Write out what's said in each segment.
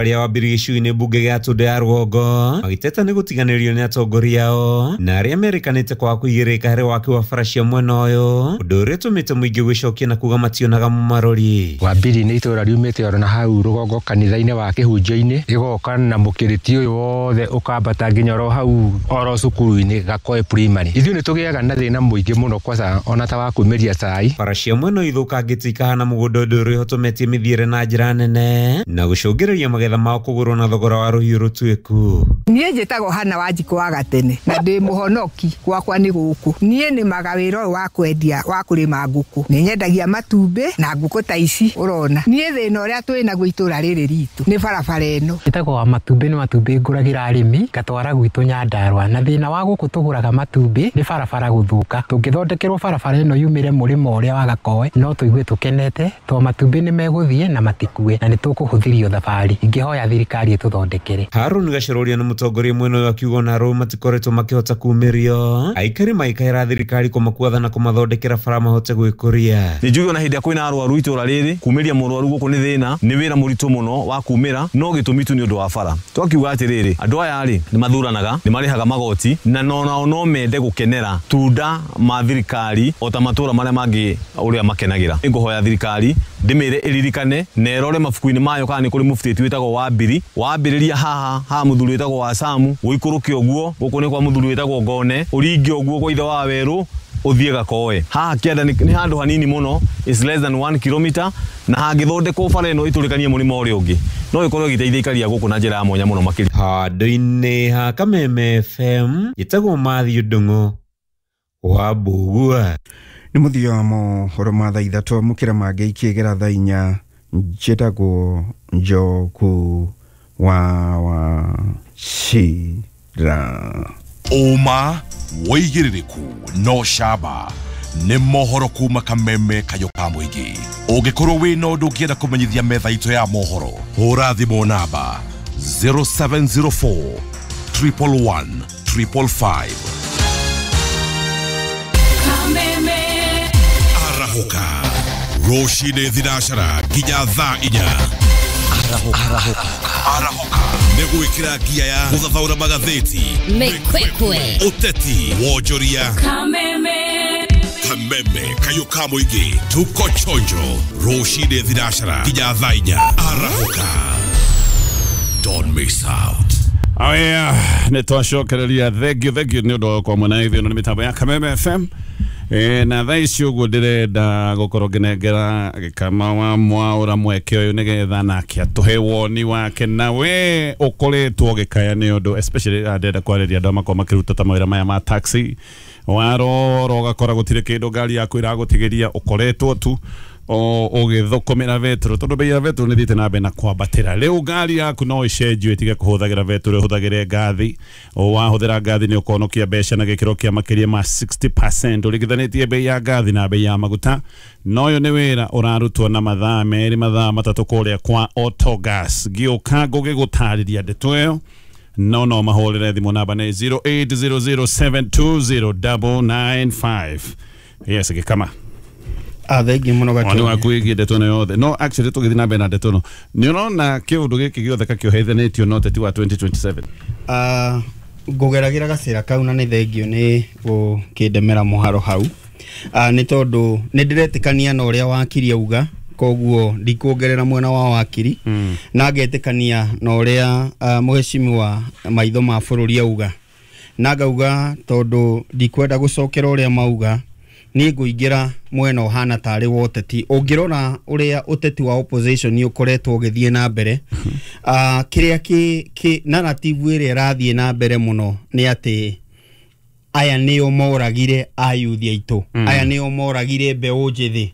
Arĩa wambiri gĩcunjĩ mbunge gĩa Tũndũ ya rũgongo magĩteta nĩ gũtiganĩrio nĩ atongoria ao na arĩa merĩkanĩte kwaga kũigĩrĩrĩka harĩ waki wa bara cia mwena ũyũ, ũndũ ũrĩa ũtũmĩte mũingĩ gwĩcokia na kuga mationaga mũmarori. Wambiri nĩ itũra riumĩte oro na hau rũgongo kanitha-inĩ wa kĩhunjio-inĩ, rĩgoka na mũkĩrĩti ũyũ wothe ũkambata nginya oro hau oro cukuru-inĩ Gakoe Primary. Ithuĩ nĩ tũgĩaga na thĩna mũingĩ mũno kwaca ona ta wa kumĩria cai. Bara cia mwena ũyũ ithũkangĩtio ikahana mũgũnda, ũndũ ũrĩa ũhotometie mĩthiĩre na njĩra nene na gũcũngĩrĩria magetha mao kũgũrwo na thogora wa rũhiũ rũtuĩku. Niĩ njĩtagwo Hana Wanjikũ wa Gatene na ndĩ mũhonoki, gwakwa nĩ gũkũ. Niĩ nĩmaga wĩra ũyũ wa kwendia wa kũrĩma ngũkũ, nĩ nyendagia matumbĩ na ngũkũ ta ici ũrona. Niĩ thĩna ũrĩa twĩ naguo itũra rĩrĩ ritũ nĩ barabara ĩno. Njĩtagwo wa matumbĩ, nĩ matumbĩ ngũragĩra arĩmi ngatwara gwitũ Nyandarũa, na thĩna wa gũkũ tũgũraga matumbĩ nĩ barabara gũthũka. Tũngĩthondekerwo barabara ĩno yumĩre mũrĩmo ũrĩa wa Gakoe no tũigue tũkenete, tondũ matumbĩ nĩ megũthiĩ na matikue na nĩ tũkũhũthĩrio thabarĩ. Ingĩhoya thirikari ĩtũthondekere. Harun Gacũrũria nĩ mũtongoria mwena ũyũ akiuga ona arũme matikoretwo makĩhota kumĩrio, aikari maikaĩra thirikari kũmakuatha na kũmathondekera bara mahote gwĩkũria. Nĩ njuge ona hĩndĩ ĩrĩa kwĩna arwaru itũra rĩrĩ, kumĩria mũrwaru gũkũ nĩ thĩna, nĩ wĩra mũritũ mũno wa kumĩra, no gĩtũmi tu nĩ ũndũ wa bara. Twakiuga atĩrĩrĩ, andũ aya rĩ nĩ mathuranaga, nĩ marĩhaga magoti, na nao no mende gũkenera tunda ma thirikari o ta matũra marĩa mangĩ ũrĩa makenagĩra. Nĩngũhoya thirikari ndĩmĩre ĩririkane na ĩrore mabuku-inĩ mayo kana nĩ kũrĩ mũbutĩti wĩtagwo Wambiri, wambĩrĩria haha ha mũthuri wĩtagwo wa Samu, ũikũrũke ũguo gũkũ nĩ kwa mũthuri wĩtagwo Ngone, ũringe ũguo kwa ithe wa Werũ, ũthiĩ Gakoe. Haha kĩanda nĩ handũ hanini mũno, is less than 1 kilometer, na hangĩthondekwo bara ĩno ĩtũrĩkanie mũrĩmo ũrĩa ũngĩ no ĩkorwo ĩgĩteithia ikaria gũkũ na njĩra ya mwanya mũno makĩria. Handũ-inĩ ha Kameme FM njĩtagwo Matthew Ndung'u wa Mbugua. Nĩ mũthia wa mohoro ma thaa 3, amũkĩra mangĩ ikĩgera thaa 4. Njĩtagwo Njoku wa Wachira. Ũma wĩigĩrĩrĩku no camba nĩ mohoro kuma Kameme kayũ ka mũingĩ. Ũngĩkorwo wĩna ũndũ ũngĩenda kũmenyithia metha itũ ya mohoro, hũra thimũ namba 0704 111 555. Arahũka rũcinĩ thinacara nginya thaa 4. Arahũka nĩ gwĩkĩra ngia ya gũthathaũra magathĩti, Mĩkwekwe, ũteti, wonjoria. Kameme kayũ ka mũingĩ, tuko chonjo rũcinĩ thinacara nginya thaa 4. Arahũka, don't miss out. Oh yeah, nĩ twacokereria. Thank you, thank you nĩ ũndũ wa gũkorwo mwena ithuĩ nĩ mĩtambo ya Kameme FM. Na thaa ici ũguo ndĩrenda gũkorwo ngĩnengera Gĩkama wa Mwaũra mweke ũyũ nĩgetha nake atũhe woni wake, na we ũkoretwo ũgĩkaya nĩ ũndũ especially ndĩrenda kwarĩria andũ makorwo makĩruta ta mawĩra maya ma taxi, warora ũgakora gũtirĩ kĩndũ ngari yaku ĩragũtigĩria, ũkoretwo tu ũgĩthũkũmĩra betũrũ tondũ bei ya betũrũ nĩ thiĩte na mbere na kwambatĩra. Rĩu ngari yaku no ĩcenjio ĩtige kũhũthagĩra betũrũ, ĩhũthagĩre ngathi. Wahũthĩra ngathi nĩ ũkonokia mbeca na gĩkĩro kĩa makĩria ma 60% ũringithanĩtie bei ya ngathi na bei ya maguta. Na ũyũ nĩ wĩra ũrarutwo na mathaa 2 mathaa 3 kũrĩa kwa Autogas. Ngĩũka ngũgĩgũtarĩria ndeto ĩyo, no mahũrĩre thimũ namba nĩ 0800720995. Yes, Gĩkama. Thengi mũno. Woni Gatonya. Waku wĩgiĩ ndeto ĩno yothe. No actually tũgĩthiĩ na mbere na ndeto ĩno, nĩ ũrona kĩũndũ gĩkĩ gĩothe kakĩohethanĩtio na ũteti wa 2027? Ngũgeragĩra gacĩra kau na nĩ thengio nĩ gũkĩndemera mũharo hau. Nĩ tondũ nĩ ndĩretĩkania na ũrĩa wakiri auga, koguo ndikuongerera mwena wa wakiri, na ngetĩkania na ũrĩa mũheshimiwa maitho ma bũrũri auga, na ngauga tondũ ndikwenda gũcokera ũrĩa mauga, niĩ ngũingĩra mwena ũhana tarĩ wa ũteti. Ũngĩrora ũrĩa ũteti wa opposition ũkoretwo ũgĩthiĩ na mbere, kĩrĩa kĩ narrative ĩrĩa ĩrathiĩ na mbere mũno nĩ atĩ aya nĩo moragire ayuthi aitũ, aya nĩo moragire mbeũ njĩthĩ.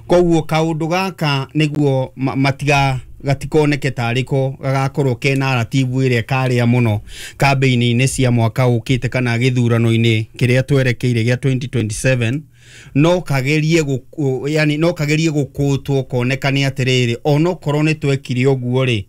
Koguo kaũndũ gaka nĩguo matiga gatikoneke tarĩ ko gagakorwo ke narrative ĩrĩa ĩkarĩa mũno kambĩini-inĩ cia mwaka ũkĩte kana gĩthurano-inĩ kĩrĩa twerekeire gĩa 2027, no kagerie yani no kagerie gũkũtwo konekane atĩrĩrĩ, onokorwo nĩ twekire ũguo rĩ,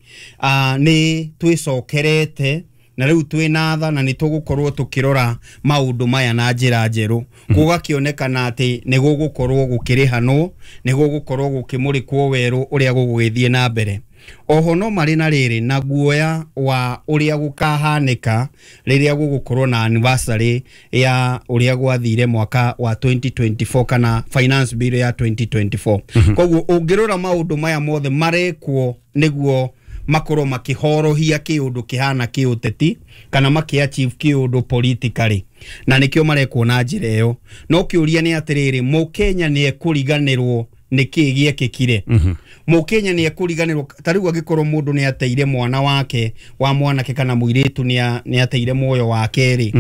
nĩ twĩcokerete na rĩu twĩna tha na nĩ tũgũkorwo tũkĩrora maũndũ maya na njĩra njerũ. Gũgakĩonekana atĩ nĩ gũgũkorwo gũkĩrĩhanwo, nĩ gũgũkorwo gũkĩmũrĩkwo werũ ũrĩa gũgũgĩthiĩ na mbere. Oho no marĩ na rĩrĩ na guoya wa ũrĩa gũkahanĩka rĩrĩa gũgũkorwo na anniversary ya ũrĩa gwathire mwaka wa 2024 kana finance bill ya 2024. Koguo ũngĩrora maũndũ maya mothe marekwo nĩguo makorwo makĩhorohia kĩũndũ kĩhana kĩũteti kana makĩ-achieve kĩũndũ politically, na nĩkĩo marekwo na njĩra ĩyo. No kĩũria nĩ atĩrĩrĩ, mũkenya nĩ ekũriganĩrwo nĩ kĩĩ gĩekĩkire? Mũkenya nĩ ekũriganĩrwo? Ta rĩu angĩkorwo mũndũ nĩ ateire mwana wake wa mwanake kana mũirĩtu nĩ ateire muoyo wake rĩ,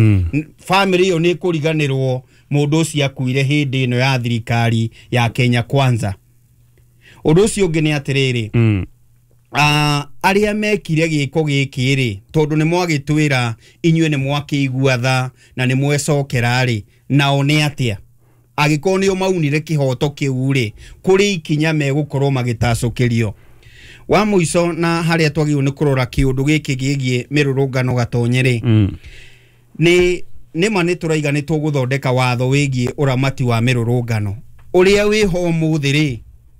family ĩyo nĩ ĩkũriganĩrwo mũndũ ũcio akuire hĩndĩ ĩno ya thirikari ya Kenya Kwanza? Ũndũ ũcio ũngĩ nĩ atĩrĩrĩ, arĩa mekire gĩko gĩkĩ rĩ, tondũ nĩ mwagĩtwĩra inyuĩ nĩ mwakĩigua tha na nĩ mwecokera rĩ, nao nĩ atĩa angĩkorwo nĩo maunire kĩhoto kĩu rĩ, kũrĩ ikinya megũkorwo magĩtacũkĩrio? Wa mũico na harĩa twagĩrĩirwo nĩ kũrora kĩũndũ gĩkĩ gĩgiĩ mĩrũrũngano Gatonye rĩ, nĩ ma nĩ tũraiga nĩ tũgũthondeka watho wĩgiĩ ũramati wa mĩrũrũngano. Ũrĩa wĩho ũmũthĩ rĩ,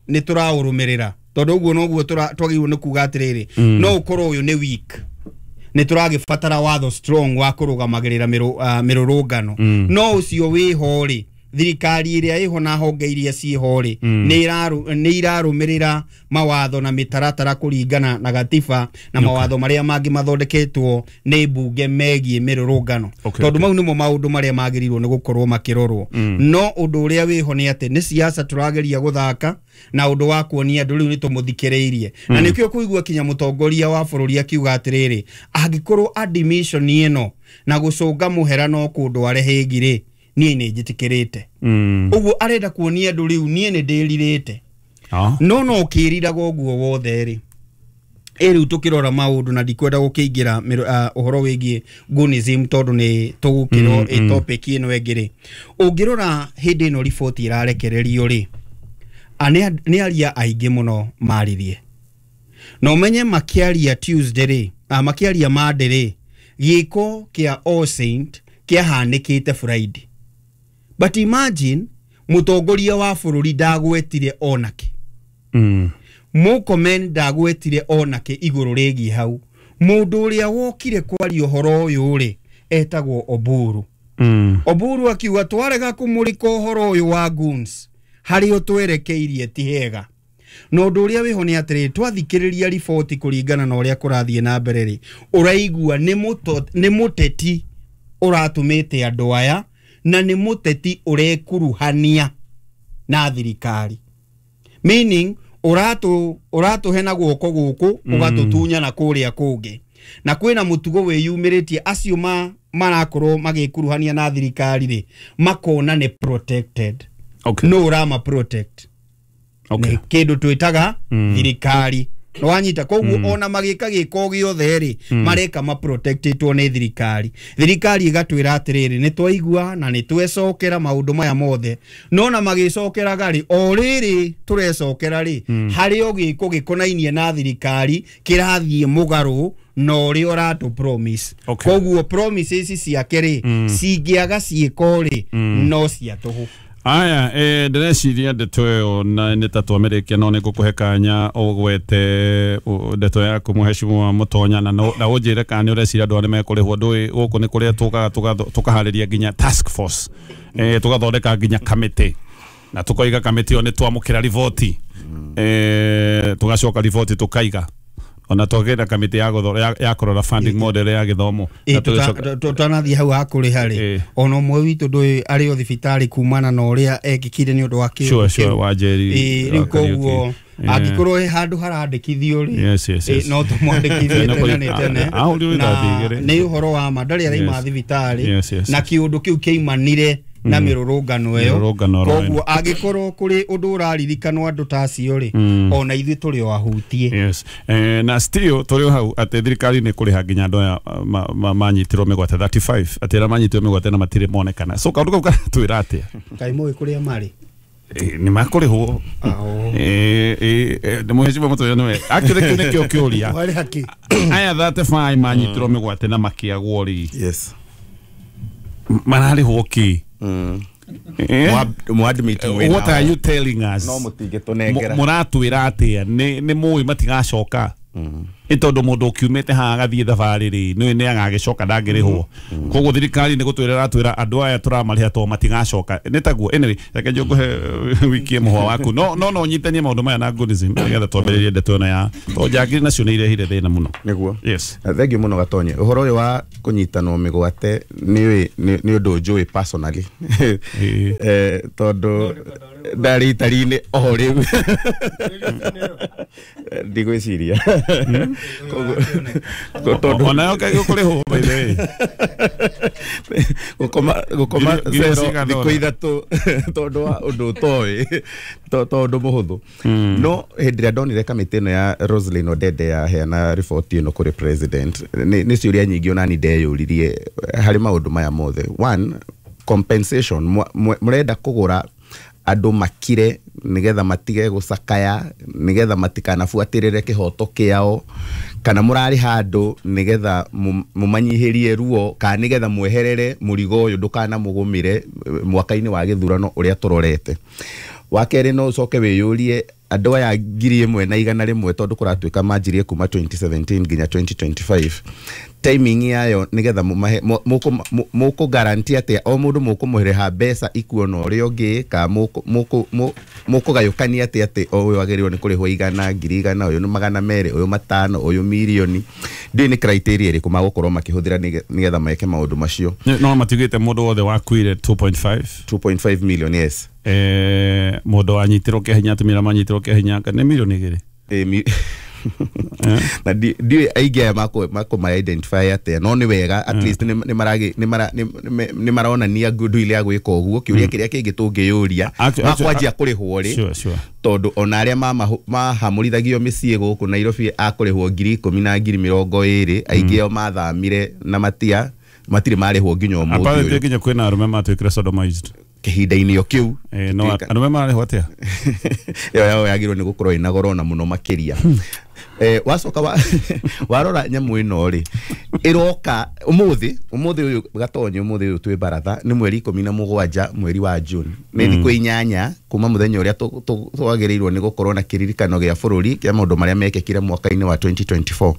nĩ tũraũrũmĩrĩra? Tondũ ũguo noguo twagĩrĩirwo nĩ kuga atĩrĩrĩ, no ũkorwo ũyũ nĩ weak, nĩ tũragĩbatara watho strong wa kũrũgamagĩrĩra mĩrũrũngano. No ũcio wĩho rĩ, thirikari ĩrĩa ĩho na honge iria ciĩho rĩ, nĩ irarũmĩrĩra mawatho na mĩtaratara kũringana na gatiba na mawatho marĩa mangĩ mathondeketwo nĩ mbunge megiĩ mĩrũrũngano? Tondũ mau nĩmo maũndũ marĩa magĩrĩirwo nĩ gũkorwo makĩrorwo. No ũndũ ũrĩa wĩho nĩ atĩ nĩ siasa tũrageria gũthaka na ũndũ wa kuonia andũ rĩu nĩ tũmũthikĩrĩirie. Na nĩkĩo kũigua kinya mũtongoria wa bũrũri akiuga atĩrĩrĩ, angĩkorwo admission ĩno na gũcũnga mũhera no kũndware hĩngi rĩ, niĩ nĩ njĩtĩkĩrĩte. Ũguo arenda kuonia andũ rĩu niĩ nĩ ndĩrirĩte. No ũkĩriraga ũguo wothe rĩ, ĩ rĩu tũkĩrora maũndũ, na ndikwenda gũkĩingĩra ũhoro wĩgiĩ gunism tondũ nĩ tũgũkĩrwo ĩ topic ĩno ĩngĩ rĩ, ũngĩrora hĩndĩ ĩno riboti ĩrarekererio rĩ, nĩ aria aingĩ mũno maririe, na ũmenye makĩaria Tuesday rĩ, makĩaria Monday rĩ, gĩko kĩa All Saint kĩahanĩkĩte Friday. But imagine mũtongoria wa bũrũri ndagwetire onake, Murkomen ndagwetire onake igũrũ rĩgiĩ hau. Mũndũ ũrĩa wokire kwaria ũhoro ũyũ rĩ, etagwo Oburu. Oburu akiuga twarega kũmũrĩka ũhoro ũyũ wa goons, harĩa twerekeirie ti hega. Na ũndũ ũrĩa wĩho nĩ atĩrĩrĩ, twathikĩrĩria riboti kũringana na ũrĩa kũrathiĩ na mbere rĩ, ũraigua nĩ mũteti ũratũmĩte andũ aya, na nĩ mũteti ũrekuruhania na thirikari, meaning ũratũhe na guoko gũkũ, ũgatũtunya na kũrĩa kũngĩ. Na kwĩna mũtugo wĩyumĩrĩtie, acio marakorwo magĩkuruhania na thirikari rĩ, makona nĩ protected. No ũrama protect nĩ kĩndũ twĩtaga thirikari. Wanyita? Koguo ona magĩka gĩko gĩothe rĩ, mareka ma protectĩtwo nĩ thirikari. Thirikari ĩgatwĩra atĩrĩrĩ, nĩ twaigua na nĩ twecokera maũndũ maya mothe, no na magĩcokeraga rĩ, o rĩrĩ tũrecokera rĩ, harĩ o gĩko gĩkonainie na thirikari kĩrathiĩ mũgarũ na ũrĩa ũratũ promise. Koguo promises ciake rĩ, cingĩaga ciĩko rĩ, no cia tũhũ. Aya, ndĩreciria ndeto ĩyo na nĩ ta twamĩrĩkia, no nĩ ngũkũhe kanya ũgwete ndeto yaku, mũhecimwa Mũtonya, na na ũnjĩre kana nĩ ũreciria andũ arĩa mekũrĩhwo. Ndũĩ gũkũ nĩ kũrĩa tũkaga tũkaharĩria nginya task force, tũgathondeka nginya kamĩtĩ, na tũkoiga kamĩtĩ ĩyo nĩ twamũkĩra riboti, tũgacoka riboti tũkaiga, ona twagĩra kamĩtĩ ya kũrora funding model ya gĩthomo. Na Tũtanathiĩ hau hakũrĩha rĩ, ona ũmwe witũ ndũĩ arĩ o thibitarĩ kumana na ũrĩa ekĩkire nĩ ũndũ wa kĩũndũ Sure, kĩu. Wa Njeri. Rĩu Wa Kariuki. koguo angĩkorwo he handũ harandĩkithio rĩ, Yes. no tũmwandĩkithie No, tene nĩ tene. Ahũrirwo Na ithaa igĩrĩ. nĩ ũhoro wa ma ndarĩ araima thibitarĩ, Yes, na kĩũndũ kĩu kĩaimanire na mĩrũrũngano ĩyo. Mĩrũrũngano oro Koguo angĩkorwo kũrĩ ũndũ ũraririkanwo andũ ta acio rĩ, ona ithuĩ tũrĩ o ahutie. Yes. Na still tũrĩ o hau atĩ thirikari nĩ kũrĩha nginya andũ aya manyitirwo mĩgwate 35, atĩ arĩa manyitirwo mĩgwate na matirĩ monekana, so kaũndũ kau karatwĩra atĩa? Kaĩ mũĩ kũrĩa marĩ? Nĩ makũrĩhwo. Nĩ mũhecimwa Mũtonya nĩwe actually kĩu nĩkĩo kĩũria. Warĩ haki. Aya 35 manyitirwo mĩgwate na makĩagwo rĩ, Yes. Mararĩhwo kĩ? Mwadmit. What are you telling us? No mũtingĩtũnengera. Mũratwĩra atĩa? Nĩ mũĩ matigacoka. Nĩ tondũ mũndũ ũkiumĩte haha agathiĩ thabarĩ rĩ, nĩ nĩ agagĩcoka ndangĩrĩhwo. Koguo thirikari nĩ gũtwĩra ĩratwĩra andũ aya tũramarĩha to matigacoka. Nĩ taguo. Anyway, reke njũkũhe wikie mũhwa waku. No no no nyitanie maũndũ maya na Goodism nĩgetha twambĩrĩrie ndeto ĩno ya to njangiri nacio nĩ irehire thĩna mũno. Nĩguo. Yes. Thengiũ mũno Gatonye. Ũhoro ũyũ wa kũnyitanwo mĩgwate nĩ ũndũ njũĩ personally. Tondũ ndarĩ itari-inĩ o rĩu. Ndigwĩciria. Onayo kaĩ gũkũrĩhwo by the way. Gũkoma zero thikũ ithatũ tondũ wa ũndũ ũtoĩ to ũndũ mũhũthũ. No hĩndĩ ĩrĩa ndonire kamĩtĩ ĩno ya Roselyn Odede yaheana riboti ĩno kũrĩ president, nĩ ciũria nyingĩ onani ndeyũririe harĩ maũndũ maya mothe. One, compensation. Mũrenda kũgũra andũ makire nigetha matige gũcakaya, nigetha matikanabuatĩrĩre kĩhoto kĩao, kana mũrarĩha andũ nigetha mũmanyihĩrie ruo, kana nigetha mweherere mũrigo ũyũ ndũkanamũgũmĩre mwaka-inĩ wa gĩthurano ũrĩa tũrorete. Wa kerĩ, no ũcoke wĩyũrie andũ aya 1,100 tondũ kũratuĩka manjirie kuma 2017 nginya 2025, timing yayo nigetha mũkũ guarantee atĩa o mũndũ mũkũmũrĩha mbeca ikuona ũrĩa ũngĩ, ka mũkũgayũkania atĩa atĩ o ũyũ agĩrĩirwo nĩ kũrĩhwo 100, 100,000, ũyũ nĩ 200, ũyũ 500, ũyũ mirioni. Ndiũĩ nĩ criteria ĩrĩkũ magũkorwo makĩhũthĩra nĩgetha meke maũndũ macio. No matigĩte mũndũ wothe wakuire 2.5 million. Yes. Mũndũ wanyitirwo kĩa hinya, atumia manyitirwo kĩa hinya nĩ mirioni 2. Na ndiũĩ aingĩ aya makũma identify atĩa, no nĩ wega at least nĩ maronania goodwill ya gwĩka ũguo. Kĩũria kĩrĩa kĩngĩ tũngĩyũria makwanjia kũrĩhwo rĩ, tondũ ona arĩa mahamũrithagio mĩciĩ gũkũ Nairobi akũrĩhwo 10,000 na 20,000, aingĩ ao mathamire na matirĩ marĩhwo nginya ũmũthĩ ũyũ. Nginya kwĩna arũme matuĩkire sodomized kĩhinda-inĩ o kĩu. No arũme mararĩhwo atĩa? Ĩyo yao yagĩrĩirwo nĩ gũkorwo ĩna goro na mũno makĩria. Wacoka warora nyamũ ĩno rĩ, ĩroka ũmũthĩ ũyũ Gatonye, ũmũthĩ ũyũ twĩ baratha nĩ mweri 17 mweri wa June, nĩ thikũ 8 kuma mũthenya ũrĩa twagĩrĩirwo nĩ gũkorwo na kĩririkano gĩa bũrũri kĩa maũndũ marĩa mekĩkire mwaka-inĩ wa 2024.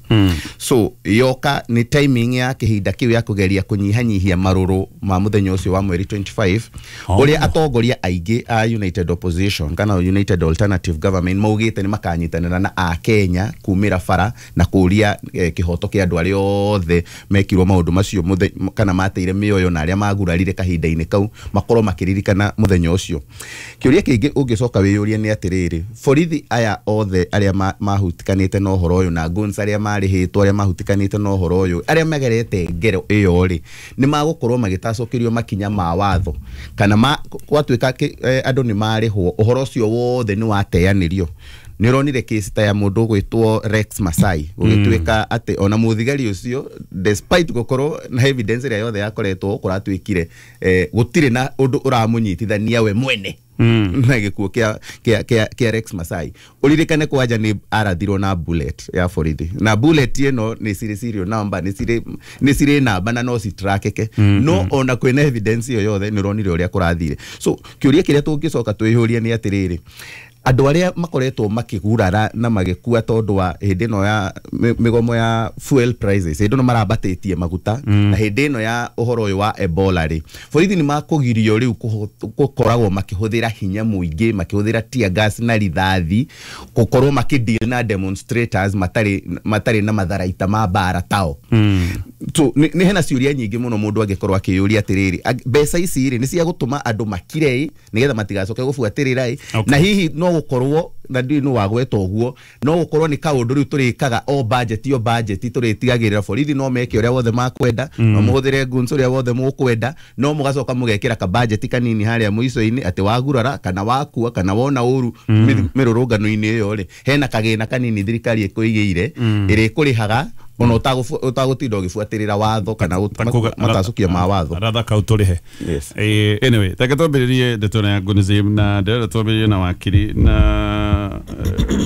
So yoka nĩ timing ya kĩhinda kĩu ya kũgeria kũnyihanyihia marũrũ ma mũthenya ũcio wa mweri 25, ũrĩa atongoria aingĩ a United Opposition kana United Alternative Government maugĩte nĩ makanyitanĩra na Akenya kumĩra bara na kũria kĩhoto kĩa andũ arĩa othe mekirwo maũndũ macio kana mateire mĩoyo na arĩa magurarire kahinda-inĩ kau makorwo makĩririkana mũthenya ũcio. Kĩũria kĩngĩ ũngĩcoka wĩyũrie nĩ atĩrĩrĩ, borithi aya othe arĩa mahutikanĩte na ũhoro ũyũ na guns arĩa marĩhĩtwo arĩa mahutikanĩte na ũhoro ũyũ arĩa magerete ngero ĩyo rĩ, nĩ magũkorwo magĩtacũkĩrio makinya ma watho, kana gwatuĩka andũ nĩ marĩhwo ũhoro ũcio wothe nĩ wateanĩrio. Nĩ ũronire kesi ta ya mũndũ ũgwĩtwo Rex Masai, gũgĩtuĩka atĩ ona mũthigari ũcio despite gũkorwo na evidence ĩrĩa yothe yakoretwo kũratuĩkire gũtirĩ na ũndũ ũramũnyitithania we mwene na gĩkuũ kĩa Rex Masai. Ũririkane kwanja nĩ arathirwo na bullet ya borithi, na bullet ĩno nĩ cirĩ serial number, nĩ cirĩ namba na no citrakeke, no ona kwĩna evidence ĩyo yothe nĩ ũronire ũrĩa kũrathire. So kĩũria kĩrĩa tũngĩcoka twĩyũrie nĩ atĩrĩrĩ, andũ arĩa makoretwo makĩgurara na magĩkua tondũ wa hĩndĩ ĩno ya mĩgomo ya fuel prices, hĩndĩ ĩno marambatĩtie maguta, na hĩndĩ ĩno ya ũhoro ũyũ wa Ebola rĩ, borithi nĩ makũgirio rĩu gũkoragwo makĩhũthĩra hinya mũingĩ, makĩhũthĩra tear gas na rithathi gũkorwo makĩdeal na demonstrators matarĩ na matharaita ma mbara tao. So nĩ hena ciũria nyingĩ mũno mũndũ angĩkorwo akĩyũria atĩrĩrĩ, mbeca ici rĩ nĩ cia gũtũma andũ makire nĩgetha matigacoke gũbuatĩrĩra, na hihi no gũkorwo na ndiũĩ nũ wagweta ũguo, no gũkorwo nĩ kaũndũ rĩu tũrĩkaga o budget o budget, tũrĩtigagĩrĩra borithi no meke ũrĩa wothe makwenda, no mũhũthĩre guns ũrĩa wothe mũkwenda, no mũgacoka mũgekĩra ka budget kanini harĩa mũico-inĩ atĩ wagurara kana wakua kana wona ũru mĩrũrũngano-inĩ ĩyo rĩ, hena kagĩna kanini thirikari ĩkũigĩire ĩrĩa ĩkũrĩhaga ona ũtagũtinda ũgĩbuatĩrĩra watho kana matacũkia ma watho ratha kau tũrĩhe. Yes. Anyway, reke twambĩrĩrie ndeto ĩno ya Goodism, na ndĩrenda twambĩrĩrie na wakiri na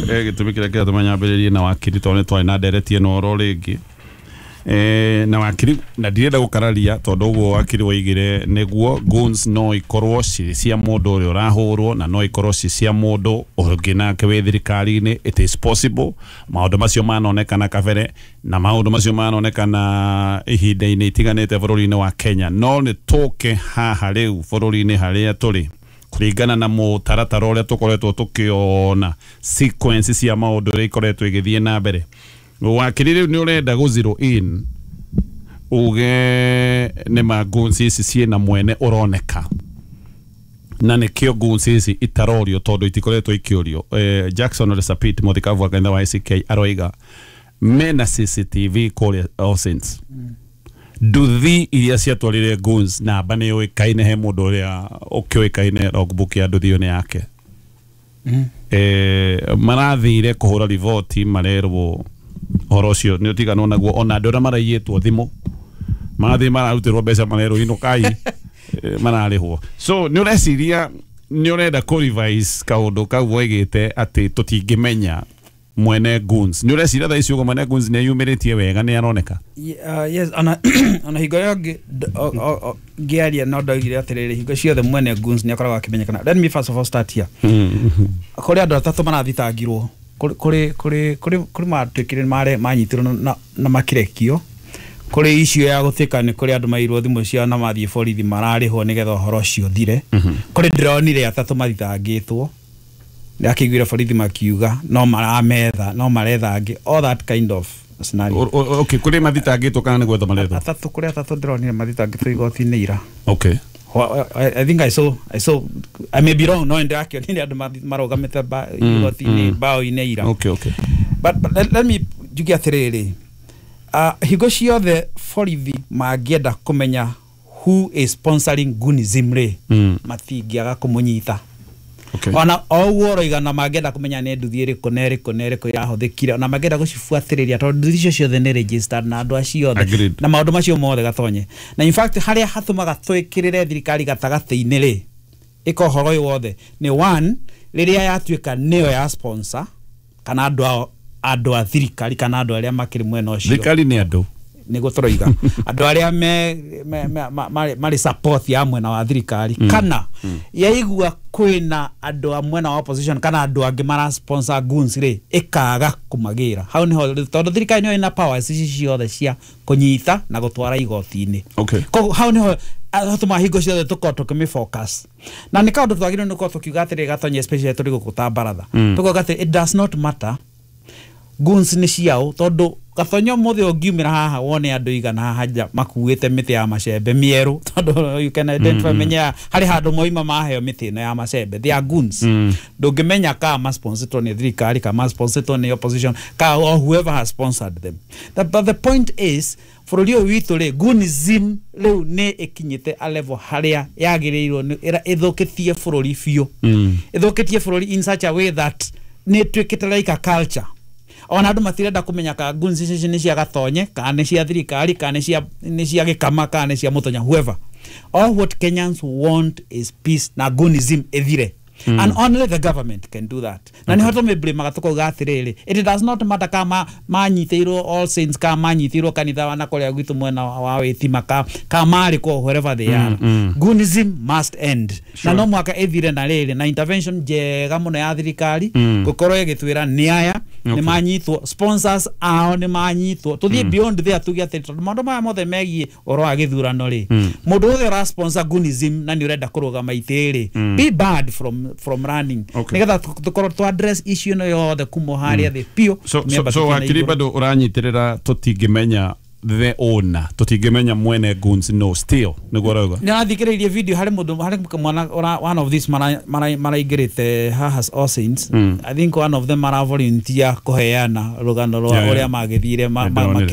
gĩtũmi kĩrĩa kĩratũma nyambĩrĩrie na wakiri tondũ nĩ twarĩ na ndereti ĩno oro rĩngĩ. Na wakiri na ndirenda gukararia tondu uguo wakiri waigire niguo guns no ikorwo ci cia mundu uria urahurwo na no ikorwo ci cia mundu ungi nake wi thirikari-ini. It is possible maundu macio manonekana kabere na maundu macio manonekana ihinda-ini itiganite bururi-ini wa Kenya, no ni tuke haha riu bururi-ini haria turi kuringana na mutaratara uria tukoretwo tukiona sequence cia maundu uria ikoretwo igithie na mbere. Wakiri riu ni urenda gu zero in uge ni ma guns ici ciina mwene uroneka na nikio guns ici itarorio tondu itikoretwo ikiorio. Jackson Ole Sapit muthikabu wa kanitha wa ACK aroiga mena CCTV kuria All Saints nduthi iria ciatwarire guns namba nĩ yũĩkaine he mũndũ ũrĩa ũkĩũĩkaine logbook ya nduthi ĩyo nĩ yake. Marathire kũhũra riboti marerwo ũhoro ũcio nĩ ũtiganwo naguo, ona andũ arĩa maraiyĩtwo thimũ marathiĩ mararutĩrwo mbeca marerwo inũkai mararĩhwo. So nĩ ũreciria nĩ ũrenda kũ revise kaũndũ kau woigĩte atĩ tũtingĩmenya mwene guns. Nĩ ũreciria thaa ici ũguo mwene guns nĩ eyumĩrĩtie wega nĩ aroneka? Yes, ona hingo ĩyo ngĩaria no ndoigire atĩrĩrĩ, hingo ciothe mwene guns nĩ akoragwo akĩmenyekana. Let me first of all start here. Kũrĩ andũ atatũ marathitangirwo kũrĩ matuĩkire manyitirwo na makĩrekio. Kũrĩ issue ya gũtuĩka nĩ kũrĩ andũ mairwo thimũ ciao na mathiĩ borithi mararĩhwo nĩgetha ũhoro ũcio ũthire. Kũrĩ ndĩronire atatũ mathitangĩtwo ndakĩiguire borithi makiuga no marametha no maretha angĩ, all that kind of scenario. Okay, kũrĩ mathitangĩtwo kana nĩ gwetha marethwo? Atatũ, kũrĩ atatũ ndĩronire mathitangĩtwo igoti-inĩ ira. Okay. I think I saw I may be wrong, no ndakĩonire andũ marũgamĩte igoti-inĩ mbaũ-inĩ ira. Okay. But let me njuge atĩrĩrĩ, hingo ciothe borithi mangĩenda kũmenya who is sponsoring Gunism rĩ, matingĩaga kũmũnyita. Okay. Ona oguo ũroiga na mangĩenda kũmenya nĩ nduthi ĩrĩkũ na ĩrĩkũ na ĩrĩkũ yahũthĩkire, ona mangĩenda gũcibuatĩrĩria tondũ nduthi icio ciothe nĩ registered na andũ acio othe na maũndũ macio mothe gatonye. Na in fact harĩa hatũmaga twĩkĩrĩre thirikari gatagatĩ-inĩ rĩ, ĩka ũhoro ũyũ wothe nĩ one, rĩrĩa yatuĩka nĩyo ya sponsor kana andũ a thirikari kana andũ arĩa makĩrĩ mwena ũcio. Thirikari nĩ andũ nĩguo tũroiga andũ arĩa marĩ support ya mwena wa thirikari, kana yaigua kwĩna andũ a mwena wa opposition kana andũ angĩ mara sponsor guns rĩ, ĩkaga kũmagĩra hau nĩho, tondũ thirikari nĩyo ĩna powers ici ciothe cia kũnyita na gũtwara igoti-inĩ. Okay. Koguo hau nĩho hatũmaga hingo ciothe tũkorwo tũkĩmĩ-focus na nĩ kaũndũ twagĩrĩirwo nĩ gũkorwo tũkiuga atĩrĩ gatonye, especially tũrĩ gũkũ ta baratha, tũkauga atĩ it does not matter guns nĩ ciao, tondũ gatonyo mũthĩ ũngiumĩra haha wone andũ igana haha nja makuĩte mĩtĩ ya macembe mĩerũ, tondũ you can identify menya harĩ handũ moima maheo mĩtĩ ĩno ya macembe, they are guns. Ndũngĩmenya ka masponsortwo nĩ thirikari ka masponsortwo nĩ opposition ka or whoever has sponsored them. But the point is bũrũri ũyũ witũ rĩ, gunism rĩu nĩ ĩkinyĩte a level harĩa yagĩrĩirwo ĩthũkĩtie bũrũri biũ, ĩthũkĩtie bũrũri in such a way that nĩ ĩtuĩkĩte like a culture. Ona andũ matirenda kũmenya ka guns ici nĩ cia gatonye kana nĩ cia thirikari kana nĩ cia gĩkama kana nĩ cia mũtonya, whoever. All what Kenyans want is peace na gunism ĩthire. And only the government can do that. Na nĩho tũmĩblame tũkauga atĩrĩrĩ, it does not matter ka manyitĩirwo All Saints ka manyitĩirwo kanitha wa na kũrĩa gwitũ mwena wa wĩtima ka marĩ kũ wherever they are. Gunism must end. Na no mwaka ĩthire na rĩrĩ na intervention njega mũno ya thirikari gũkorwo ĩgĩtwĩra nĩ aya nĩ manyitwo, sponsors ao nĩ manyitwo, tũthiĩ beyond there tuge atĩ tondũ maũndũ maya mothe megiĩ ũhoro wa gĩthurano rĩ, mũndũ wothe ũra sponsor gunism na nĩ ũrenda kũrũgama itĩ rĩ, be banned from running. Nĩgetha tũkorwo tũ address issue ĩno yothe kuma harĩa thĩ biũ. So wakiri bado ũranyitirĩra tũtingĩmenya the owner, tũtingĩmenya mwene guns no still nĩguo ũrauga? Nĩ arathikĩrĩirie video harĩ mũndũ harĩ mwana one of these maraingĩrĩte haha All Saints. I think one of them mara volunteer kũheana rũgano rwa ũrĩa magĩthire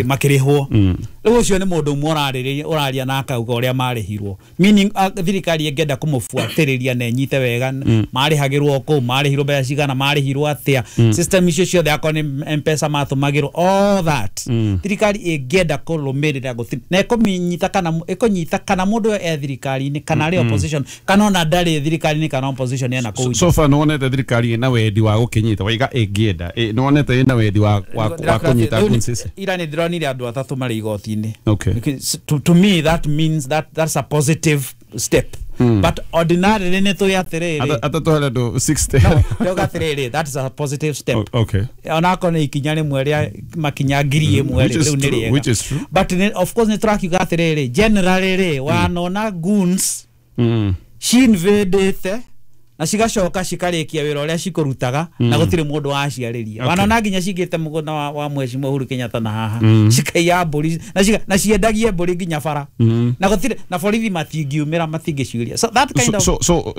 makĩrĩhwo. Rĩu ũcio nĩ mũndũ ũmwe ũrarĩrĩria ũraria na akauga ũrĩa marĩhirwo, meaning thirikari ĩngĩenda kũmũbuatĩrĩria na ĩnyite wega, marĩhagĩrwo kũu, marĩhirwo mbeca cigana, marĩhirwo atĩa, system icio ciothe, akorwo nĩ M-Pesa matũmagĩrwo, all that, thirikari ĩngĩenda kũrũmĩrĩra gũtirĩ na ĩkũmĩnyita kana ĩkũnyita kana mũndũ ũyũ e thirikari-inĩ kana arĩ opposition kana ona ndarĩ thirikari-inĩ kana opposition ena kũu. So far nĩwonete thirikari ĩna wendi wa gũkĩnyita waiga ĩngĩenda, nĩwonete ĩna wendi wa kũnyita goons ici? Ira nĩ ndĩronire andũ atatũ marĩ igoti-inĩ. Okay. To me that means that that's a positive step, but ordinarily nĩ tũĩ atĩrĩrĩ, atatũ harĩ andũ 60. No, ndauga atĩrĩrĩ, that is a positive step. Onakorwo nĩ ikinya rĩmwe rĩa makinya 1,000 Which rĩ, is rĩu nĩ true, rĩega. which is true. But of course nĩ tũrakiuga atĩrĩrĩ, generally rĩ, wanona goons cinvĩndĩte na cigacoka cikarĩkia wĩra ũrĩa cikũrutaga na gũtirĩ mũndũ waciarĩria. Wanona nginya cingĩte mũgũnda wa mheshimiwa Uhuru Kenyatta na haha, cikaiya mbũri na ciendagie mbũri nginya bara, na gũtirĩ na borithi matingiumĩra, matingĩciũria, so that kind so, of So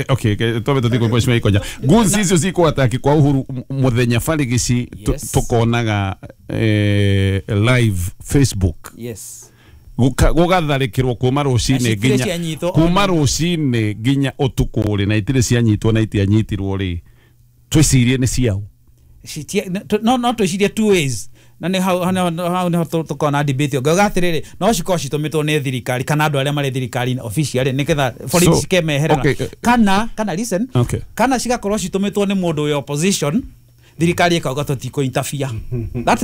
okay, twambe tũthiĩ kwĩ mheshimiwa Ikonya. Goons icio cikũ kwa Uhuru mũthenya barigici, tũkonaga live Facebook gũgatharĩkĩrwo kuma rũcinĩ Na citirĩ nginya cianyitwo kuma ona. Rũcinĩ nginya ũtukũ rĩ, na itirĩ cianyitwo na itianyitirwo rĩ, twĩcirie nĩ ciao? No twĩcirie two ways, na nĩ hau nĩho tũkona debate. Ngauga atĩrĩrĩ, no cikorwo citũmĩtwo nĩ thirikari kana andũ arĩa marĩ thirikari-inĩ officially nĩgetha borithi cikemeherera, kana listen, kana cigakorwo citũmĩtwo nĩ mũndũ wĩ opposition, thirikari ĩkauga tũtikũ interfere. That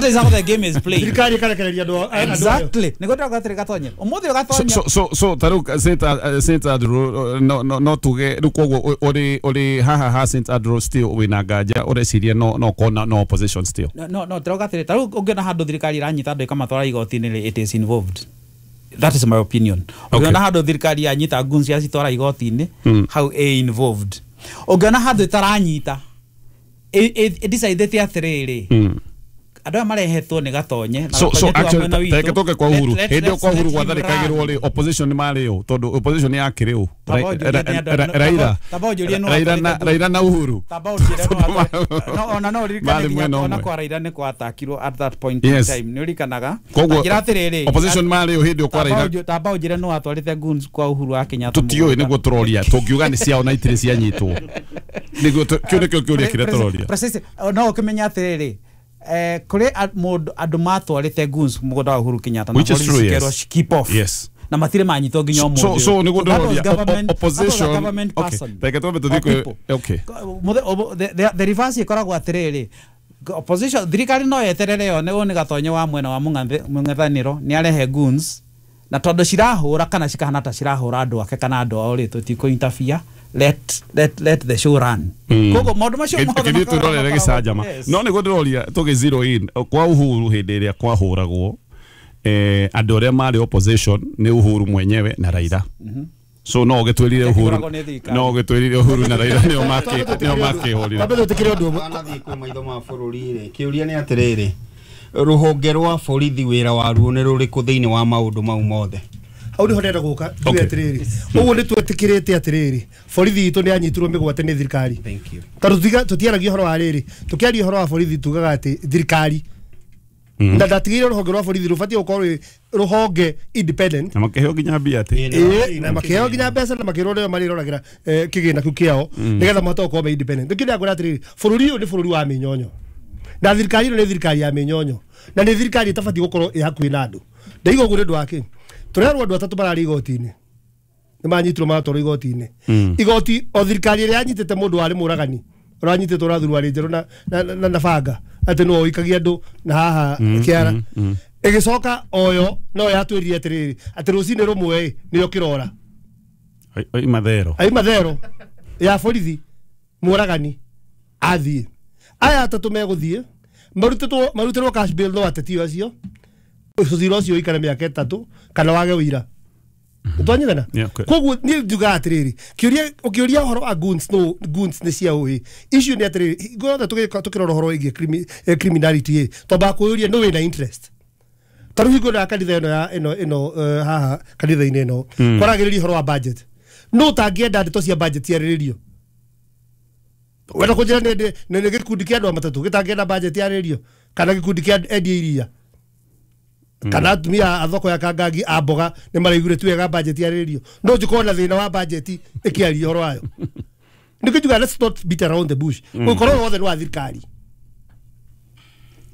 is how the game is played. Thirikari ĩkarekereria andũ ayo. Exactly, nĩguo ndĩrauga atĩrĩ, gatonye ũmũthĩ So ũgatonya. So tarĩu St Andrew, no tuge rĩu koguo ũrĩ haha ha St Andrew still wĩna nganja, ũreciria no kona no opposition still? No, ndĩrauga atĩrĩ, tarĩu ũngĩona handũ thirikari ĩranyita andũ ĩkamatwara igoti-inĩ rĩ, it is involved. That is my opinion. Ũngĩona handũ thirikari yanyita goons yacitwara igoti-inĩ, hau ĩ involved. Ũngĩona handũ ĩtaranyita, ĩdecidĩte atĩrĩrĩ, andũ aya marehetwo nĩ gatonye na So Gatonye ti wa actually mwena witũ. Tareke tũke kwa Uhuru. Let- Hĩndĩ ĩyo kwa let's Uhuru let him gwatharĩkagĩrwo run. rĩ, opposition nĩ marĩ ũ? Tondũ opposition yakĩrĩ ũ? Tamba ũnjũrie nĩ andũ- Raila tamba ũnjũrie nũ Raila na watwarĩte Raila na Uhuru. Tamba ũnjĩre no ona no ũririkane Marĩ nginya mwena ona ũmwe. kwa Raila nĩ kwatakirwo at that point in time, nĩ ũririkanaga? Koguo Njĩra atĩrĩrĩ, opposition marĩ ũ hĩndĩ ĩyo kwa Raila? Tamba ũnjĩre nũ watwarĩte goons kwa Uhuru wa Kenyatta Tũtiũĩ. mũgũnda. Nĩguo tũroria, tũngiuga nĩ ciao na itirĩ cianyitwo, nĩguo kĩu nĩkĩo kĩũria kĩrĩa tũroria. Precisely. No ũkĩmenya atĩrĩrĩ, kũrĩ mũndũ andũ matwarĩte goons mũgũnda wa Uhuru Kenyatta na Which is borithi true, cikerwo yes. keep off, na matirĩ manyitwo nginya ũmũthĩ So ũyũ. so nĩguo So that was ndĩroria government- that was a opposition. government Okay, person reke twambe tũthiĩ or kwĩ people. okay. The reverse ĩkoragwo atĩrĩrĩ, opposition, thirikari no yeterere yone ũyũ nĩ gatonye wa mwena wa mũng'ethanĩro nĩ arehe goons, na tondũ cirahũra kana cikahana ta cirahũra andũ ake kana andũ ao rĩ, tũtikũ interfere, let the show run. Koguo maũndũ macio mothe Kĩthiĩ twĩrorere gĩcanjama. Yes. No nĩguo ndĩroria, tũgĩ zero in kwa Uhuru, hĩndĩ ĩrĩa kwahũragwo, andũ arĩa marĩ opposition nĩ Uhuru mwenyewe na Raila. So no ũgĩtwĩrire Uhuru Yakĩhũragwo nĩ thirikari. no ũgĩtwĩrire Uhuru na Raila nĩo makĩhũrire. Twambe twĩtĩkĩre ũndũ ũmwe. Wanathiĩ kwĩ maitho ma bũrũri rĩ, kĩũria nĩ atĩrĩrĩ, rũhonge rwa borithi wĩra waruo nĩ rũrĩkũ thĩinĩ wa maũndũ mau mothe? Hau niho ndĩrenda gũka njuge atĩrĩrĩ, ũguo nĩ twetĩkĩrĩte atĩrĩrĩ, borithi itũ nĩ yanyitirwo mĩgwate nĩ thirikari. Thank you. Tondũ tũtiaragia ũhoro wa rĩrĩ, tũkĩaria ũhoro wa borithi tugaga atĩ thirikari na ndatigĩire rũhonge rwa borithi rũbatiĩ gũkorwo rwĩ rũhonge independent. Na makĩheo nginya mbia atĩ Ĩĩ, na makĩheo nginya mbeca na makĩrwo nĩo marĩroragĩra kĩgĩna kĩu kĩao nĩgetha mahote gũkorwo me independent. Nĩkĩo ndĩrakwĩra atĩrĩrĩ, bũrũri ũyũ nĩ bũrũri wa mĩnyonyo, na thirikari ĩno nĩ thirikari ya mĩnyonyo, na nĩ thirikari ĩtabatiĩ gũkorwo ĩ hakuhĩ na andũ. Ndaiga ũguo nĩ ũndũ wa kĩ? Tũrerwo andũ atatũ mararĩ igoti-inĩ nĩ manyitirwo maratwarwo igoti-inĩ. Igoti o thirikari ĩrĩa yanyitĩte mũndũ warĩ mũragani ũranyitĩtwo na thuruarĩ njerũ na banga atĩ nĩwe ũikagia andũ na haha kĩara, ĩgĩcoka oyo no yatwĩrire atĩrĩrĩ, atĩ rũcinĩ rũmwe ĩ nĩyo kĩrora Oima thero. Aima thero ya borithi mũragani athiĩ. Aya atatũ megũthiĩ marutĩrwo cash bail no ateti acio ũcira ũcio ũikare mĩaka 3 kana wage ũira. Twanyitana? Yeah, okay. Koguo niĩ njugaga atĩrĩrĩ, kĩũria ũkĩũria ũhoro wa goons, no goons nĩ cia ũĩ icio nĩ atĩrĩrĩ, hingo yothe tũkĩrora ũhoro wĩgiĩ criminality ĩ, twambaga kwĩyũria nũ wĩna interest. Ta rĩu hingo ĩno ya kanitha ĩno ya ĩno haha kanitha-inĩ ĩno kwaragĩrĩria ũhoro wa budget, nũ ũtangĩenda ndeto cia budget ciarĩrĩrio? Wenda kũnjĩra nĩ gĩkundi kĩa andũ a matatũ gĩtangĩenda budget yarĩrĩrio, kana gĩkundi kĩa endia iria? Kana atumia a thoko ya Kangangi a mboga nĩ maraiguire tu wega budget yarĩrĩrio. No njũkorwo na thĩna wa budget ĩkĩaria ũhoro wayo. Nĩkĩo njugaga let's not beat around the bush. Ũkorwo wothe nĩ wa thirikari.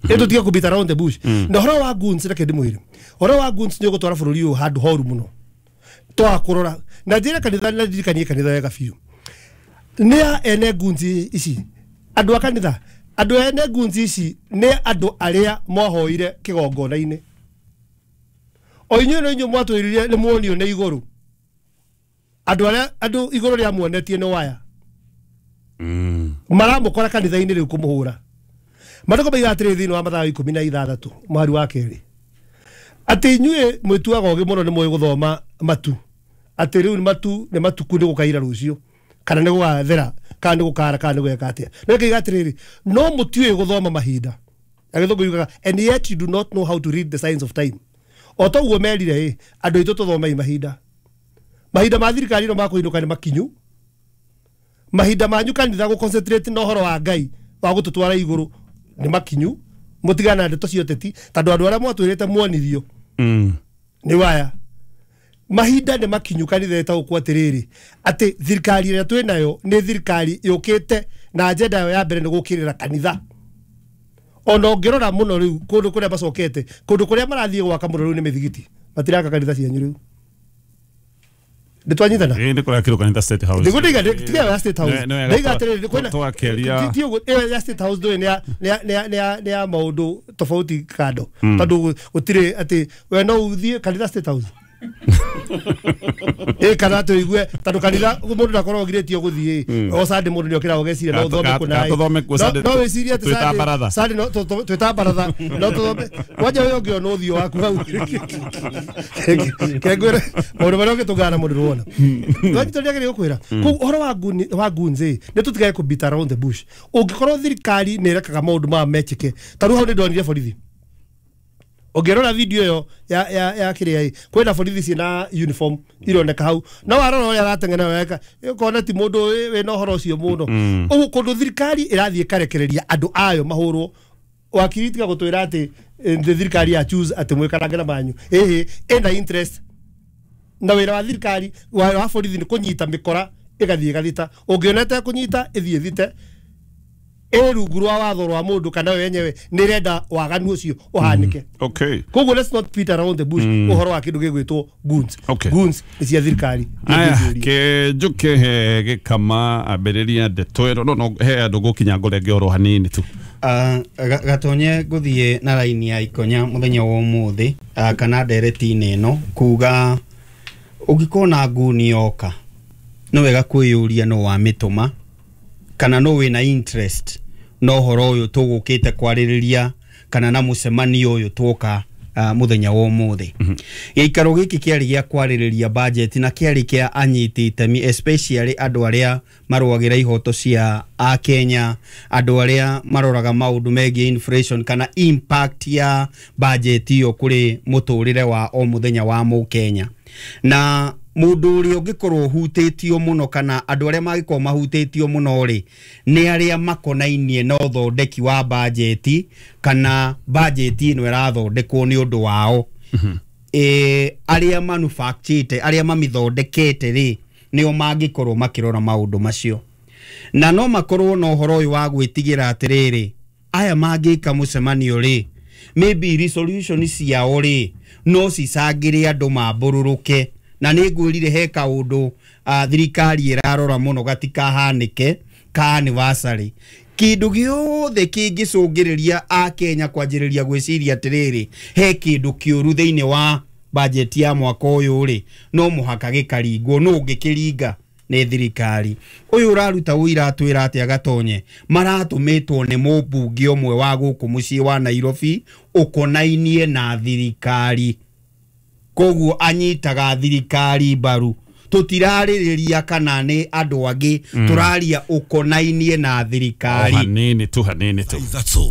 Ĩndũ tiga kũ beat around the bush. Na ũhoro wa goons reke ndĩmwĩre. Ũhoro wa goons nĩ ũgũtwara bũrũri ũyũ handũ horu mũno. Twaga kũrora. Na njĩre kanitha na ndirikanie kanitha wega biũ. Nĩ a ene goons ici. Andũ a kanitha, andũ ene goons ici nĩ andũ arĩa mwahoire kĩgongona-inĩ. O inyuĩ no inyuĩ mwatwĩrire nĩ muonio nĩ igũrũ. Andũ arĩa andũ igũrũ rĩa muonetie nĩ waya. Maramũkora kanitha-inĩ rĩu kũmũhũra. Maandĩko moigaga atĩrĩrĩ thĩinĩ wa Mathayo 16 mũhari wa 2 atĩ inyuĩ mwĩtuaga ũgĩ mũno nĩ mũĩ gũthoma matu, atĩ rĩu matu nĩ matuku nĩ gũkaira rũciũ kana nĩ gũgathera kana nĩ gũkara kana nĩ gwĩka atĩa. No ĩkaiga atĩrĩrĩ, no mũtiũĩ gũthoma mahinda. Agĩthũngũ yugaga and yet you do not know how to read the signs of time. O toguo merire ĩ andũ aitũ tũthomei mahinda. Mahinda ma thirikari no makũinũka nĩ makinyu. Mahinda manyu kanitha gũ concentrate na ũhoro wa Ngai wa gũtũtwara igũrũ nĩ makinyu. Mũtigana na ndeto cia ũteti tondũ andũ arĩa mwatwĩrĩte muonirio nĩ waya. Mahinda nĩ makinyu kanitha ĩtaũkwo atĩrĩrĩ atĩ thirikari ĩrĩa twĩ nayo nĩ thirikari yũkĩte na agenda yayo ya mbere nĩ gũkĩrĩra kanitha. Ona ũngĩrora mũno rĩu kũndũ kũrĩa macokete, kũndũ kũrĩa marathiĩ gwaka mũno rĩu nĩ mĩthigiti, matiraka kanitha cianyu rĩu. Nĩ twanyitana? Ĩĩ nĩ kũrakĩrwo kanitha State House. Ndĩgũtiga tiga ya State House. Ndaiga atĩrĩrĩ kwĩna twakĩria ti ũguo ĩyo ya State House ndũĩ nĩ ya maũndũ tofauti kando. Tondũ gũtirĩ atĩ we no ũthiĩ kanitha State House. Ĩ kana tũigue tondũ kanitha mũndũ ndakoragwo ũgirĩtio gũthiĩ. O Sunday mũndũ nĩokĩraga ũgeciria no ũthome kũna. No wĩcirie atĩ Sunday no twĩta baratha no tũthome. Kwanja ũyũ ũngĩ ona ũthiũ waku hau. Kengwĩre maũndũ marĩa ũngĩtũngana mũndũ ndũrona. Twanyita nĩagĩrĩire gũkwĩra. Koguo ũhoro wa goons ĩ nĩ tũtigage kũ beat around the bush. Ũngĩkorwo thirikari nĩ ĩrekaga maũndũ maya mekĩke. Ta rĩu hau nĩ ndonire borithi. Ũngĩrora video ĩyo ya kĩrĩa ĩ kwĩna borithi ciĩna uniform ironeka hau no warora ũrĩa arateng'era wega ũkona ti mũndũ wĩna ũhoro ũcio mũno. Ũguo kũndũ thirikari ĩrathiĩ ĩkarekereria andũ ayo mahũrwo. Wakiri tiga gũtwĩra atĩ thirikari ya choose atĩ mwĩkarange na manyu. Ĩhĩ ĩna interest na wĩra wa thirikari wa borithi nĩ kũnyita mĩkora ĩgathiĩ ĩgathita. Ũngĩona ĩtekũnyita ĩthiĩ ĩthite ĩ rungu rwa watho rwa mũndũ kana we yenyewe nĩ ĩrenda waganu ũcio ũhanĩke. Okay. Koguo let's not beat around the bush ũhoro wa kĩndũ gĩgwĩtwo goons. Okay. Goons nĩ cia thirikari. Aya kĩnjũke he gĩkama ambĩrĩria ndeto ĩno no he andũ gũkinya ngũrenge oro hanini tu. Gatonye ngũthiĩ na raini ya ikonya mũthenya wa ũmũthĩ kana ndereti-inĩ ĩno kuga ũngĩkorwo na nguni yoka nĩ wega kwĩyũria no wamĩtũma kana no wĩna interest no ũhoro ũyũ tũgũkĩte kwarĩrĩria kana na mũcemanio ũyũ twoka mũthenya wa ũmũthĩ. Gĩikaro gĩkĩ kĩarĩ gĩa kwarĩrĩria budget na kĩarĩ kĩa anyiti itemi especially andũ arĩa marũagĩra ihoto cia Akenya, andũ arĩa maroraga maũndũ megiĩ inflation kana impact ya budget ĩyo kũrĩ mũtũrĩre wa o mũthenya wa mũkenya. Na mũndũ ũrĩa ũngĩkorwo ũhutĩtio mũno kana andũ arĩa mangĩkorwo mahutĩtio mũno rĩ nĩ arĩa makonainie na ũthondeki wa bajeti kana bajeti ĩno ĩrathondekwo nĩ ũndũ wao. Arĩa manufacturĩte arĩa mamĩthondekete rĩ nĩo mangĩkorwo makĩrora maũndũ macio. Na no makorwo na ũhoro ũyũ wa gwĩtigĩra atĩrĩrĩ aya mangĩka mũcemanio rĩ maybe resolution ciao rĩ no cicangĩre andũ mambũrũrũke. Na nĩ ngwĩrire he kaũndũ thirikari ĩrarora mũno gatikahanĩke ka anniversary. Kĩndũ gĩothe kĩngĩcũngĩrĩria Akenya kwanjĩrĩria gwĩciria atĩrĩrĩ he kĩndũ kĩũru thĩinĩ wa budget ya mwaka ũyũ rĩ no mũhaka gĩkaringwo. No ũngĩkĩringa nĩ thirikari. Ũyũ ũraruta ũira atwĩra atĩa Gatonye maratũmĩtwo nĩ mũmbunge ũmwe wa gũkũ mũciĩ wa Nairobi ũkonainie na thirikari. Koguo anyitaga thirikari mbaru. Tũtirarĩrĩria kana nĩ andũ angĩ, tũraria ũkonainie na thirikari. Hanini tu hanini tu. 3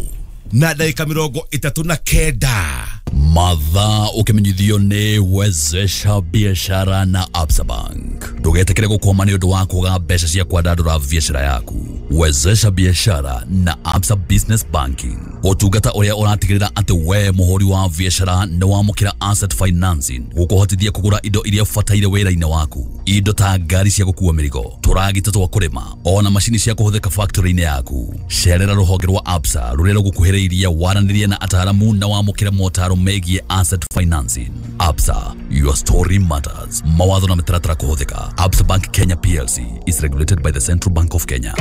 na ndagĩka 39. Mathaa ũkĩmenyithio nĩ Wezesha Biashara na Absa Bank. Ndũgetĩkĩre gũkwama nĩ ũndũ wa kwaga mbeca cia kwandandũra biacara yaku. Wezesha biashara na Absa Business Banking, ũtungata ũrĩa ũratigĩrĩra atĩ we mũhũri wa biacara nĩ wamũkĩra asset financing gũkũhotithia kũgũra indo iria ũbataire wĩra-inĩ waku, indo ta ngari cia gũkua mĩrigo, tũragita twa kũrĩma, ona macini cia kũhũthĩka factory-inĩ yaku. Cerera rũhonge rwa Absa rũrĩa rũgũkuhĩrĩirie waranĩrie na ataaramu na wamũkĩre motaro megiĩ asset financing. Absa, your story matters. Mawatho na mĩtaratara kũhũthĩka. Absa Bank Kenya PLC is regulated by the Central Bank of Kenya.